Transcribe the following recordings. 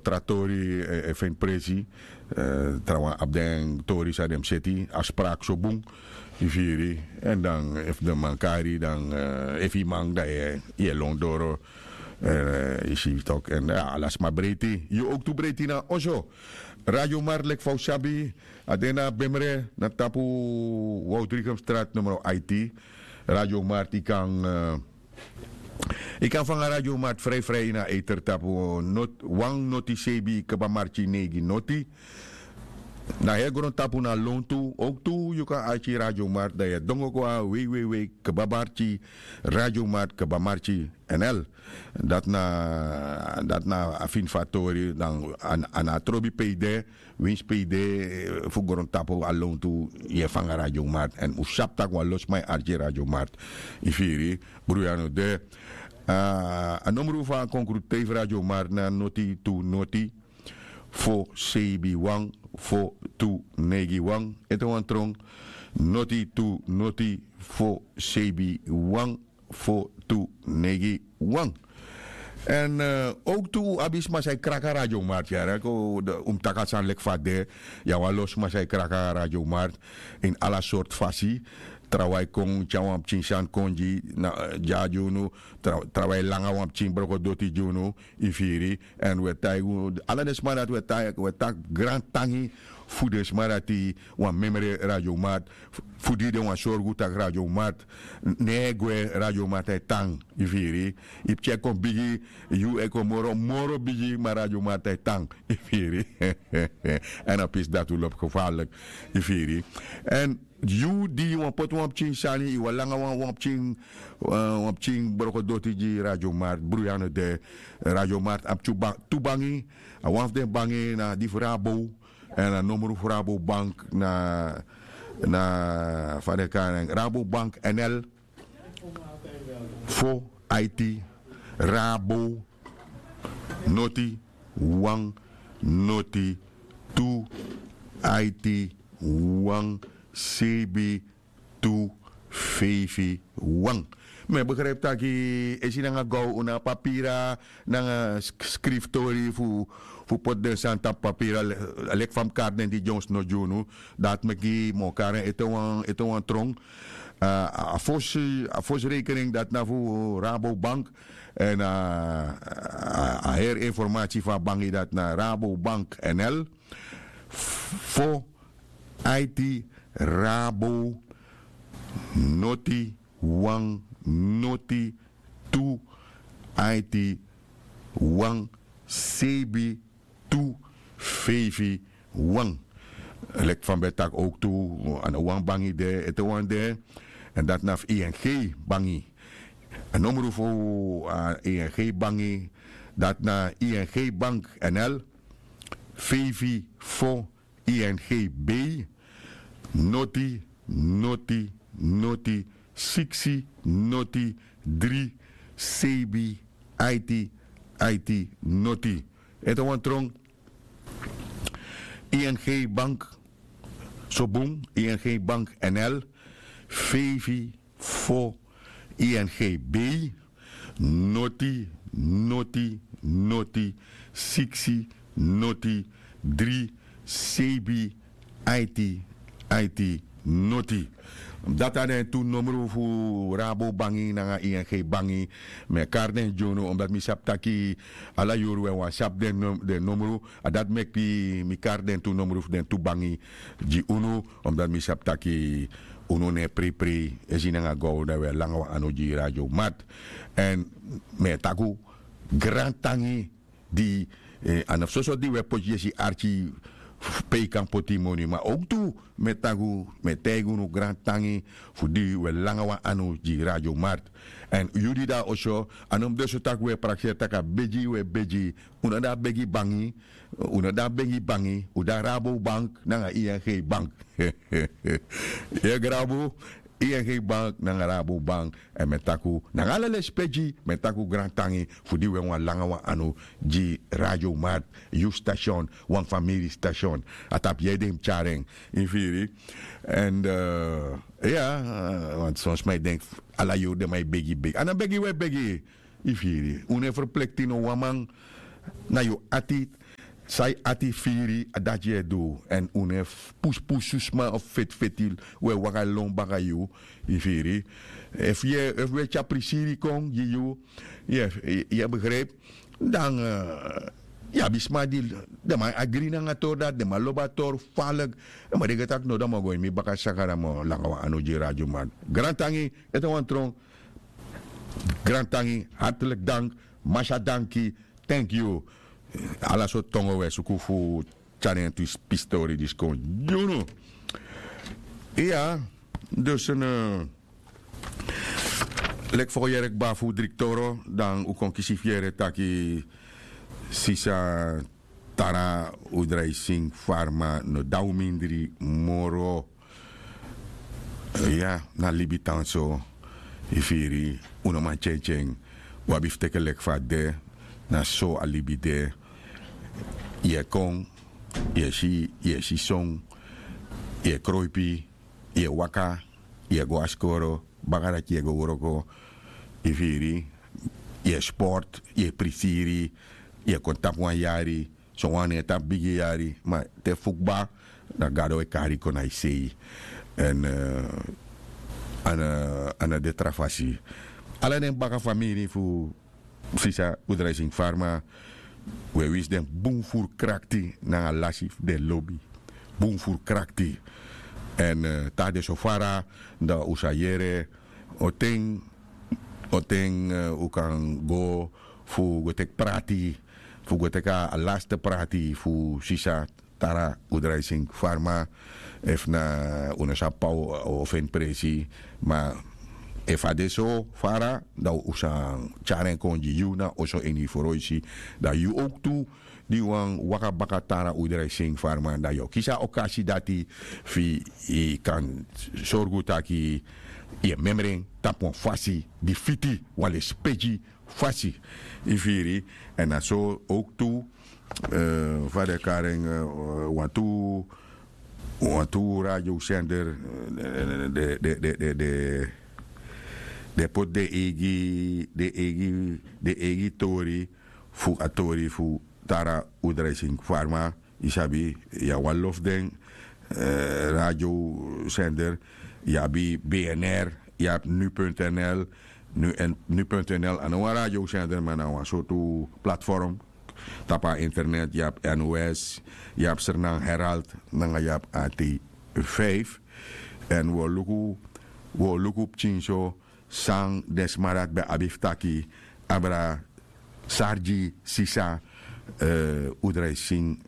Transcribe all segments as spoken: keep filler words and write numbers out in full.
tra tori, e feni presi. Trawan abi den tori san den mus seti a spraki so bun. Yu firi? Èn dan efu den man kari dan, efu yu man dan yu e lon doro. Yu si tok' èn ala sma breiti yu owktu breiti na oso. Radio mark leki fa un sabi, a de na bemre na tapu waldrikumstrat numero aiti. Radio mark yu kan yu kan fanga radio mark frijfrij ini a eiter tapu wan noti sebi kba marki neigi noti. Na heri grontapu na lontu owktu yu kan arki radio mark dan yu e dongo go na wei wei wei kba marki radio mark kba marki nl. Dati na a fini fu a tori dan a na a trobi pe yu de. Winsi pe yu de fu grontapu a lontu yu e fanga radio mark èn un sabi tak' wan lo sma e arki radio mark. Yu firi? Bruya no de. A nomru fu a konkru tei fu radio mark na noti tu noti fo sebi wan fo tu neigi wan. Ete wan tron. Noti tu noti fo sebi wan fo tu neigi wan. Èn owktu un abi sma san e kraka radio mark yara un mus taki a sani leki fa a de. Yu abi wan lo sma san e kraka radio mark ini ala sortu fasi. Trawan e kon tyari wan pikin sani kon gi na dya gi unu. Trawan e langa wan pikin brokodoti gi unu. Yu firi? Èn un e taigi unu ala den sma dati un e taki grantangi fu den sma dati wan memre radio mark fu di den wan sorgu tak' radio mark no e gwe. Radio mark e tan. Yu firi? Yu pikin e kon bigi yu e kon moro moro bigi ma radio mark e tan. Yu firi? Èn a pisi dati un lobi gefarlik. Yu firi? Èn yu di yu wani poti wan pikin sani yu wani langa wan wan pikin wan pikin brokodoti gi radio mark bruya no de. Radio mark abi tu bangi. A wan fu den bangi na di fu rabo. Èn a nomru fu rabo bank na na fa den kan en rabo bank nl fo aiti rabo noti wan noti tu aiti wan sebi tu feifi wan. Mi e begripi tak' esi nanga gaw un na a papira nanga skriftori fu poti den sani tapu papira. Leki fa mi kari den di dyonsno gi unu dati meki mi o kari en ete wan tron. A fosi rekening dati na fu rabobank. Èn a heri informasi fu a bangi dati na rabobank nl fo aiti rabo noti wan noti tu aiti wan sebi tu feifi wan. Leki fa mi ben taki owktu a no wan bangi de ete wan de. Èn dati na fu ing bangi. A nomru fu a ing bangi dati na ing bank nl feifi fo ing b noti noti noti siksi noti dri sebi aiti aiti noti. Ete wan tron ing bank so bun ing bank nl feifi fo ing b noti noti noti siksi noti dri sebi aiti aiti noti. Dati na den tu nomru fu rabo bangi nanga ing bangi. Mi e kari den gi unu omdati mi sabi taki ala yuru wi e wani sabi den nomru. A dati meki mi kari den tu nomru fu den tu bangi gi unu. Omdati mi sabi taki unu no e preiprei esi nanga gaw dan wi e langa wan anu gi radio mat. Èn mi e taki un grantangi di a no fu soso di wi e poti yesi arki pe yu kan poti moni ma owktu mi e taki un mi e taigi unu grantangi fu di wi e langa wan anu gi radio mat. Èn yu di de na oso a no mus de so tak' wi e prakseri tak' a begi wi e begi. Un no de a begi bangi. Un no de a begi bangi un de a rabobank nanga ing bank. Yu e grabu ing bank nanga rabobank. Èn mi e taki un nanga ala lespeki mi e taki un grantangi fu di wi e wani langa wan anu gi radio mat. Yu station wan famiri station a tapu yu ede yu mus tyari en. Yu firi? Èn ya, want son sma e denki ala yuru den man e begi begi a no begi wi e begi. Yu firi? Un no e ferplekti no wan man. Na yu ati. San yu ati firi, a dati yu e du. Èn un no e pusupusu sma of feti feti, un e waka lon baka yu. Yu firi? Efu yu e efu un e tyari prisiri kon gi yu, yu e begripi, dan yu abi sma di den man agri nanga a tori dati, den man lobi a tori falek. Ma den go taki no, dan mi o go ini mi baka saka dan mi o langa wan anu gi radio man. Grantangi. Ete wan tron. Grantangi, hartelijk dank. Masha danki. Thank you. Ala sortu tongo un e suku fu tyari en tu pistori disi kon gi unu. Iya. Dus en leki fa un yere kba fu dri toro, dan un kon kisi fu yere taki sisa Tara Udraising Farma no dati un mindri moro. Ya, na libi tan so. Yu firi? Un no man tyentyen. Un abi fu teke leki fa a de. Na so a libi de. Yu e kon, yu e si, yu e si son, yu e kroipi, yu e waka, yu e go na skoro, baka dati yu e go wroko. Yu firi? Yu e sport, yu e prisiri, yu e kon tapu wan yari. Sowan no e tapu bigi yari, ma te fu kba, dan Gado e kari yu kon na yu sei. Èn a no de tra fasi. Ala den baka famiri fu sisa Udraising Farma, un e winsi den bun furu krakti nanga lasi fu den lobi. Bun furu krakti. Èn te a de so fara, dan un sa yere on ten, on ten un kan go fu go teki prati, fu go teki a laste prati fu sisa Tara Udraising Farma. Efu na un no sabi pe a o feni presi, ma efu a de so fara, dan un sa tyari en kon gi yu na oso ini yu froisi. Dan yu owktu di wani waka baka Tara Udraising Farma, dan yu o kisi a okasi dati fu yu kan sorgu taki yu e memre en tapu wan fasi di fiti, wan lespeki fasi. Yu firi? Èn na so owktu fa den e kari en, wantu wantu radiosender, den poti den eigi den eigi den eigi tori fu a tori fu Tara Udraising Farma. Yu sabi, yu abi wan lofu den radiosender. Yu abi B N R, yu abi nu punt N L. Nu punt N L a no wan radiosender, ma na wan sortu platform tapu a internet. Yu abi N O S, yu abi Sernang Herald nanga yu abi A T vijf. Èn wi o luku wi o luku pikinso san den sma dati ben abi fu taki abra sari gi sisa Udraising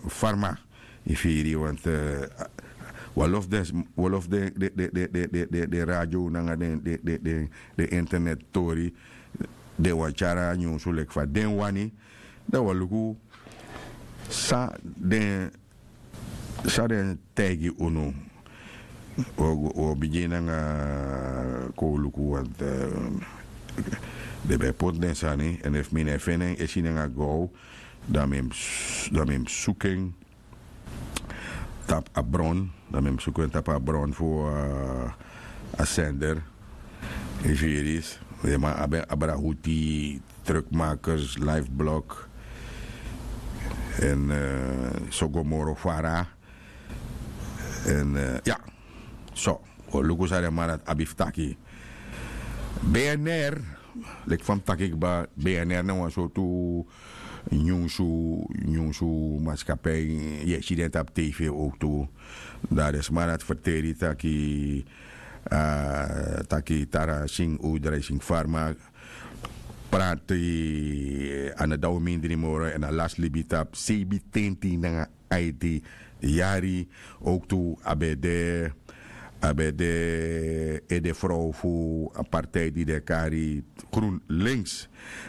Farma. Yu firi? Want wi o lofu den wi o lofu den den den den den radio nanga den den den den internet tori. Den wani tyari a nyunsu leki fa den wani. Dan wi o luku san den san den taigi unu. Wi o bigin nanga kowluku want den ben poti den sani èn efu mi no e feni en esi nanga gow, dan mi mus suku en tapu a bron. Dan mi mus suku en tapu a bron fu a sender. Yu firi? Den man abi en abrahuti, truckmakers, life block, èn so go moro fara. Èn ya, so wi o luku san den man dati abi fu taki. B N R, leki fa mi taki kba, B N R na wan sortu nyunsu nyunsu maskapei. Yu e si den tapu tv owktu. Dan den sma dati ferteri taki taki tara sing udrai sing farma prati a no daw mindri moro èn a lasi libi tapu seibitenti nanga aiti yari. Owktu a ben de a ben de ede frow fu a partij di den e kari grunlinks.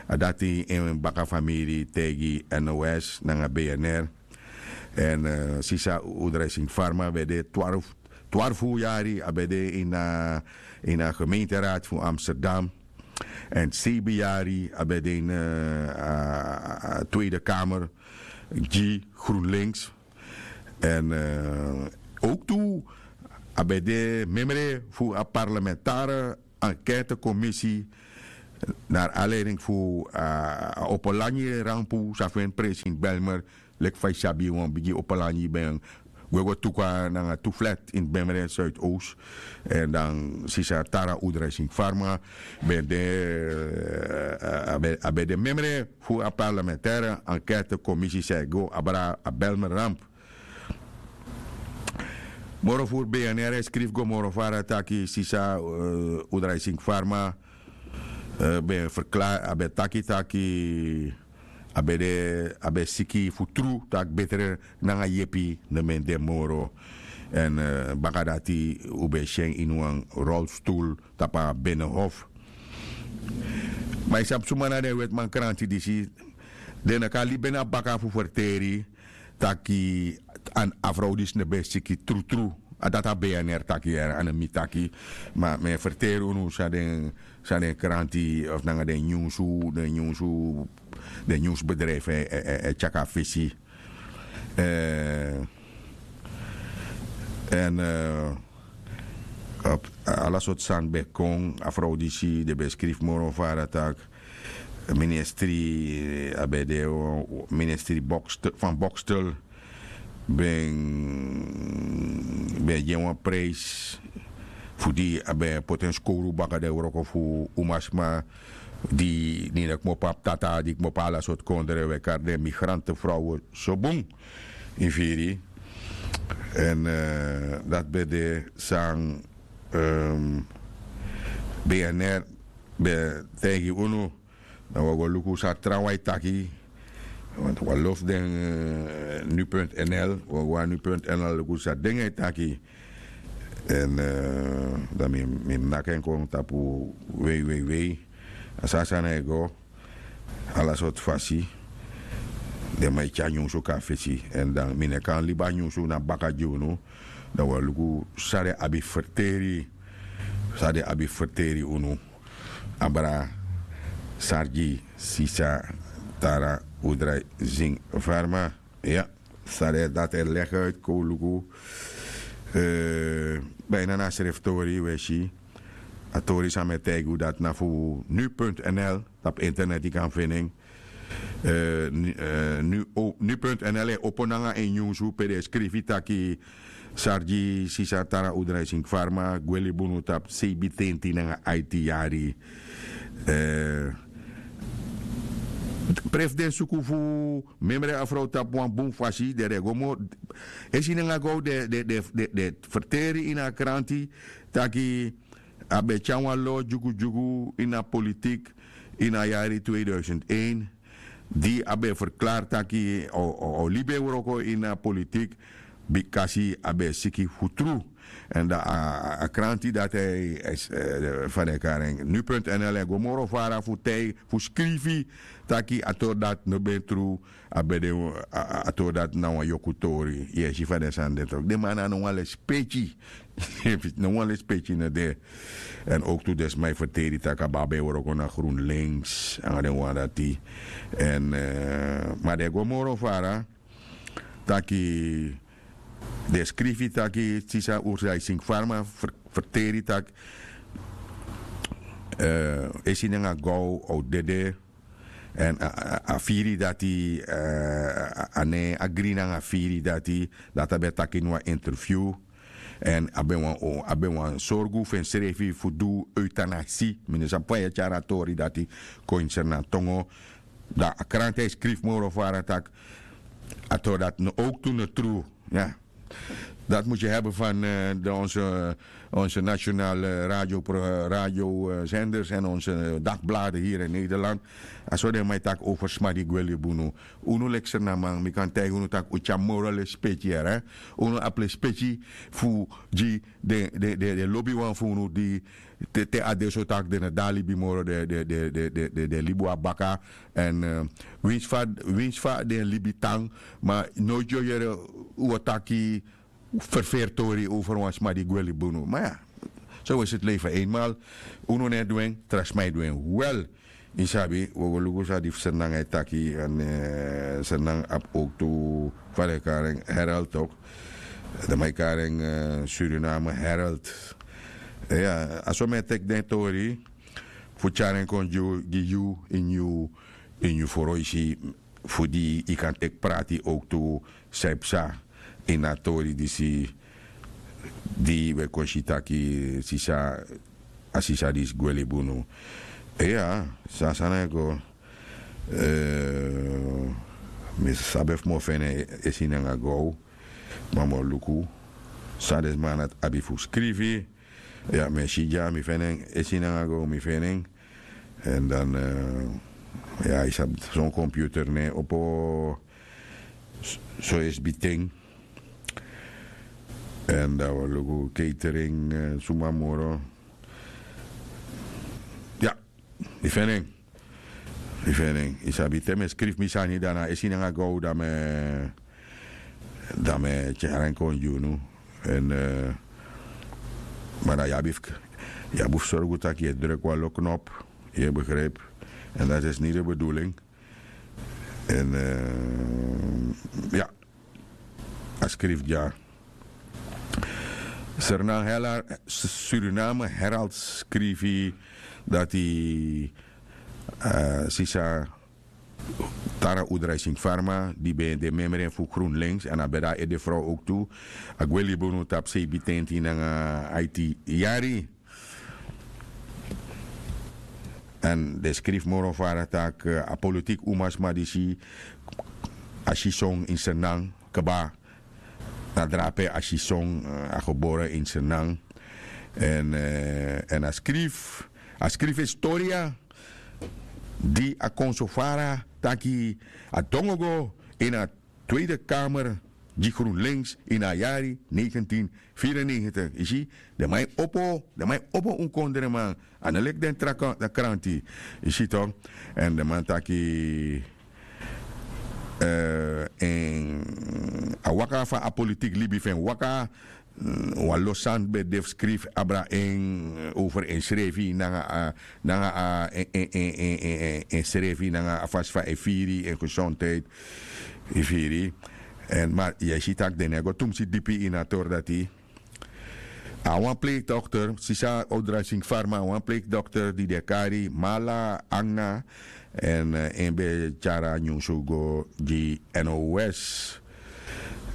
A dati en baka famiri taigi nos nanga bnr. Èn sisa udrai sing farma ben de twarfu yari a ben de ini a gemeenteraad fu amsterdam. Èn seibin yari a ben de ini a tweede kamer gi grunlinks. Èn owktu a ben de memre fu a parlamentare enquêtekomisi Nari a leiding fu a opo lanyi rampu san feni presi ini belmer, leki fa yu sabi wan bigi opo lanyi ben gwe go tuku nanga tu flat ini bemre suidows. Èn dan sisa tara udra sing farma ben de a ben de memre fu a parlementaire enquête komisi san e go abra a belmer ramp. Moro furu bnr e skrifi go moro fara taki sisa udra sing farma ben ferklari a ben taki taki a ben de a ben siki fu tru tak' betre nanga yepi no ben de moro. Èn baka dati un ben si en ini wan rolstul tapu a benehof. Ma yu sabi suma na den wetiman kranti disi den no kan libi na baka fu ferteri taki a frow disi no ben siki trutru. A dati a bnr taki yere a no mi taki. Ma mi e ferteri unu san den san den kranti of nanga den nyunsu den nyunsu den nyunsbedrijfu e tyaki a fesi. Èn ala sortu sani ben kon a frow disi den ben skrifi moro fara tak' ministri a ben de ministri fan bokstel ben ben gi en wan prijs fu di a ben poti en skowru baka den wroko fu umasma di nini kmopo abi tata di kmopo ala sortu kondre wi e kari den migrante frow so bun. Yu firi? Èn dati ben de san bnr ben taigi unu. Dan wi o go luku san trawan e taki. Want wi a lofu den nu punt nl wi o go na nu punt nl luku san den e taki. Èn dan mi mi naki en kon tapu wei wei wei. A sani sani e go ala sortu fasi. Den man e tyari nyunsu kon na fesi èn dan mi no e kan libi a nyunsu na baka gi unu. Dan wi o luku san den abi ferteri san den abi ferteri unu. Abra sargi sisa tara udra zing farma. Ya sare dati e legi uit kon luku. Bijna na sreftori we si a tori san mi e taigi un dati na fu nu punt nl. Tapu internet yu kan feni en. Nu punt nl e opo nanga en nyunsu pe den e skrifi taki sargi sisa tara udra e sing farma gwe libi unu tapu seibintenti nanga aiti yari. Prefu den suku fu memre a frow tapu wan bun fasi den de go moro. Esi nanga go den ferteri ini a kranti taki a ben tyari wan lo dyugudyugu ini a politik ini a yari tweeduisend-een. Di a ben ferklari taki a o libi en wroko ini a politik bikasi a ben siki fu tru. Èn dan a kranti dati fa den e kari en nu punt nl e go moro fara fu tij fu skrifi taki a tori dati no ben tru. A ben de a tori dati na wan yoku tori yu e si fa den sani de toki den man na no wan lespeki. No wan lespeki no de. Èn owktu den sma e ferteri tak' a baba e wroko na grunlinks nanga den wan dati. Èn ma den e go moro fara taki den skrifi taki sisa ursa e sing farma ferteri tak' esi nanga gow o dede. Èn a firi dati a ne agri nanga a firi dati dati a ben taki ini wan interview. Èn a ben wan sorgu fu ensrefi fu du eutanasi mi no sabi fa yu e tyari a tori dati kon ini sernan tongo. Dan a kranti e skrifi moro fara tak' a tori dati no owktu no tru. Ya dati mus yu hebi fan de onse nationale radio radio senders èn onse dagblade hiri in nederland. A so den man e taki over sma di gwe libi unu. Unu leki sernaman mi kan taigi unu tak' un tyari moro lespeki yere. Unu abi lespeki fu gi den lobiwan fu unu di te a de so tak' den no de na libi moro den libi wan baka. Èn winsi fa den libi tan ma noiti yu o yere un o taki ferferi tori over wan sma di gwe libi unu ma ya. So we siti leifi einmal. Unu no e du en tra sma e du en wel. Yu sabi un o go luku san di fu sernanga e taki èn sernanga abi owktu fa den e kari en herald tok. Den man e kari en suriname herald. Ya a so mi e teki den tori. fu tyari en kon gi yu, ini yu, ini yu foroisi, fu di yu kan teki prati owktu san yu psa ini a tori disi, di wi e kon si taki sisa, a sisa disi gwe libi unu. Iya, san sani e go. Mi sabi efu mi o feni en esi nanga gow. Ma mi o luku san den sma dati abi fu skrifi. Ya, mi e si dya, mi feni en esi nanga gow, mi feni en. Èn dan, ya, yu sabi son computer no e opo so esbiten. Èn dan wi o luku catering, suma moro. Ya, mi feni en. Mi feni en. Yu sabi te mi e skrifi mi sani, dan na esi nanga gow dan mi e, dan mi e tyari en kon gi unu. Èn, ma dan yu abi fu, yu abi fu sorgu tak' yu e druk wan lo knop. Yu e begrijp. Èn dati is niti de bedoeling. Èn, ya, a skrifi dya. Suriname Herald, Suriname Herald skrifi dati, sisa Tara Oedraisingfarma, di ben de memre fu GroenLinks, èn a ben de a ede frow owktu, a gwe libi unu tapu seibintenti nanga aiti yari. Èn den skrifi moro fara tak' a politiki umasma disi, a si son ini Sranan kaba, na drape a si son, a gebore ini Sranan. Èn, èn a skrifi, a skrifi historia di a kon so fara taki a dongo go ini a Tweede Kamer gi GroenLinks ini a yari negentien vierennegentig. Yu si, den man e opo, den man e opo un kondreman. A no leki den tra kranti. Yu si tok. Èn den man taki, en a waka fa a politiki libi fu en waka, wan lo sani ben de fu skrifi abra en over ensrefi nanga a, nanga a, ensrefi nanga a fasi fa e firi en gezondheid. Yu firi. Èn ma yu e si tak' den no e go tumsi dipi ini a tori dati. A wan pleegdokter, sisa Oedraisingfarma, a wan pleegdokter di den e kari Mala Anga. Èn en ben tyari a nyunsu go gi NOS.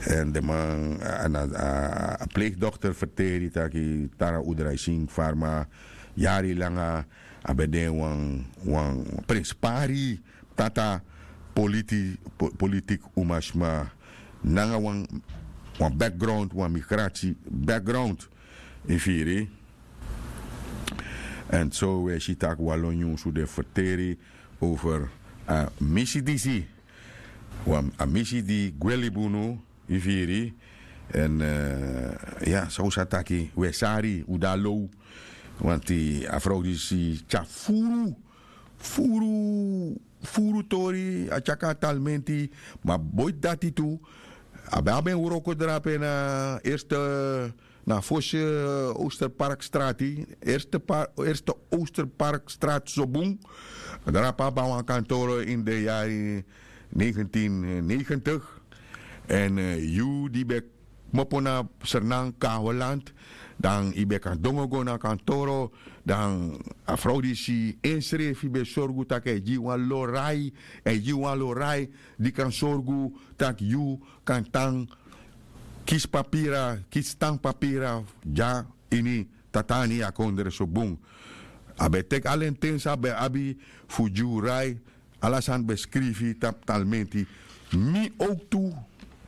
Èn den man, a pleegdokter ferteri taki Tara Oedraisingfarma, yari langa a ben de wan, wan prenspari tata, politiki umasma nanga wan, wan background, wan migrati background. Yu firi. Èn so wi e si tak' wan lo nyunsu den ferteri over a misi disi. Wan a misi di gwe libi unu, yu firi. Èn, ya, san un sa taki, wi e sari, un de na low. Wanti a frow disi tyari furu, furu, furu tori, a tyari kon na Talmenti. Ma boiti dati tu, a ben abi en wroko drape na eerste, na fosi Oosterparkstraat, eerste, eerste Oosterparkstraat so bun. Drape abi wan kantoro ini den yari negentien negentig. Èn yu di ben kmopo na Sranan, Kaholand, dan yu ben kan dongo go na kantoro, dan a frow disi ensrefi ben sorgu tak' a e gi wan lo rai, a e gi wan lo rai di kan sorgu tak' yu kan tan kisi papira, kisi tan papira dya ini Tatani, a kondre so bun. A ben teki ala en ten san a ben abi fu gi un rai, ala sani ben skrifi tapu Talmenti. Mi owktu,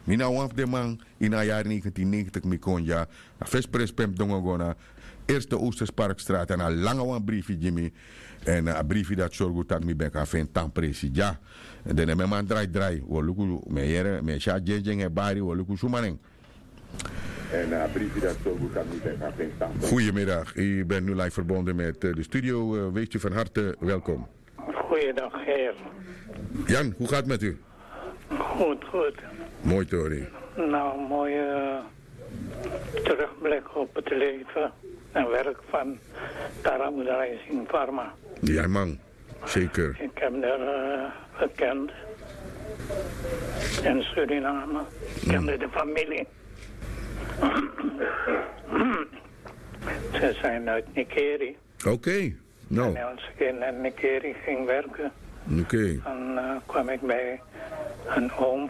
mi na wan fu den man, ini a yari negentien negentig mi kon dya, a fesi presi pe mi dongo go na eerste Oosterparkstraat, èn a langa wan brifi gi mi. Èn a brifi dati sorgu tak' mi ben kan feni tan presi dya. Den no e man drai drai, wi o luku, mi e yere, mi e si a dyendyen e bari, wi o luku suma nen. En a briefje dat zo goed kan niet zijn gaan vinden. Goedemiddag, u bent nu live verbonden met eh, de studio. Eh, wees u van harte welkom. Goeiedag, heer. Jan, hoe gaat het met u? Goed, goed. Mooi, Tori. Nou, een mooie terugblik op het leven en werk van Tara Oedraising Pharma. Ja, man. Zeker. Ik heb daar eh, gekend. In Suriname. Ik kende de familie. Ze zijn uit Nikeri. Oké. Nou. En als ik in Nikeri ging werken, oké, dan eh, kwam ik bij een oom